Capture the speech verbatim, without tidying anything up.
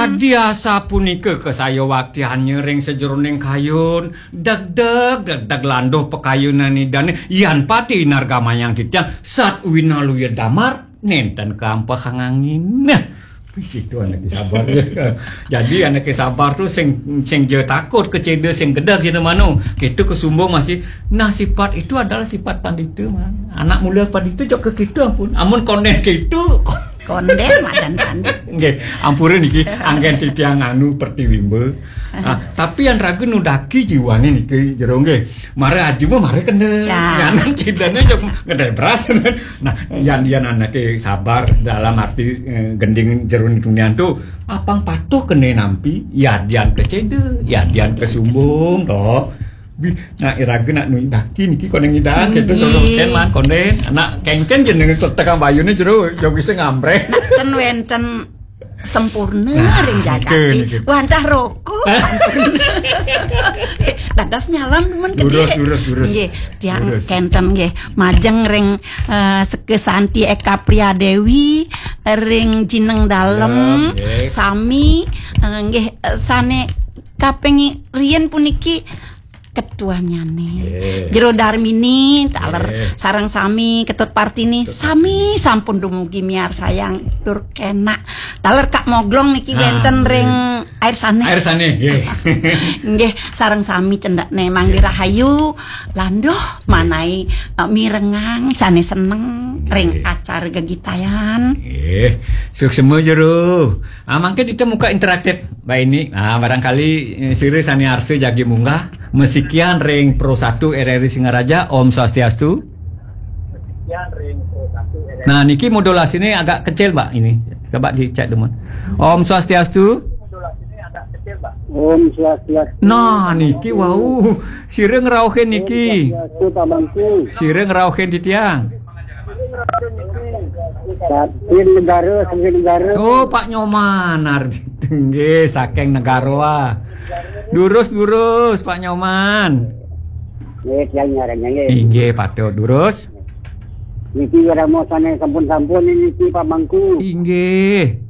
Diasa punika kasayawaktiannya ring sajeroning kayun, degdeg, degdeg landuh pakayunan Idane, yan pati nargamayang titiang, sat winaluya damar, nenten kampehang angin. Nah, itu anake sabar. Jadi anake sabar tu sing, sing ja takut keceda, sing gedeg jena mano. Kita kesumbung masih, nah, sifat itu adalah sifat pandita, man. Anak mula pandita jok ke kita pun. Amun konden kita, konden madan pandita. Nggih, ampura niki, anggen titiang anu pertiwimba. Ah, tapi yang raga nudaki jiwane niki jero nggih. Mara aju mah mara kena. Ya. Nyanan cidane jok ngedai beras. Nah, yan, yan anake sabar dalam arti, eh, gending jero tunian tu apang patuh kena nampi, yadian keceda, yadian kesumbung, toh. Nah, iraga nak nudaki niki konden ngidang, kita suruh sen man konden. Nak kengken je nengah tekang bayune jero, jok bisa ngambreh. Ten wenten sempurna ring jagate. Wantah roko sempurna. Dados nyalon men gedhe. Durus, durus, durus. Nggih, tiang kenten nggih. Majeng ring, eh, Seke Santi Eka Priya Dewi, ring Jineng Dalem, sami, eh, nggih, eh, sane kaping riyen puniki ketuanyane. Jero Darmini, taler sareng sami Ketut Partini, sami sampun dumugi miarsayang tur kenak. Taler Kak Moglong niki wenten ring Air Sane. Air Sane, nggih. Nggih, sareng sami cendekne Mangdi Rahayu, landuh manai, eh, mirengang sane seneng ring acara gegitayan. Nggih. Suksema jero. Ah, mangke kita muka interaktif, Mbak Ini. Ah, barangkali, eh, sira sane arsa jagi munggah, masikian ring Pro satu R R I Singaraja, Om Swastiastu. Nah, niki modulasine agak kecil, Mbak, ini. Coba dicek dulu. Om Swastiastu. Om Swastiastu. Nah, niki wau. Sira ngrauhin niki. Swastiastu, Pak Mangku. Sira ngrauhin titiang. Saking negara, saking negara. Oh, Pak Nyoman Ardito. Nggih, saking negara. Durus, durus, Pak Nyoman. Nggih, tiang nyarennya, nggih. Inggih, patut durus. Niki wiramu sane sampun-sampun niki, Pak Mangku. Inggih.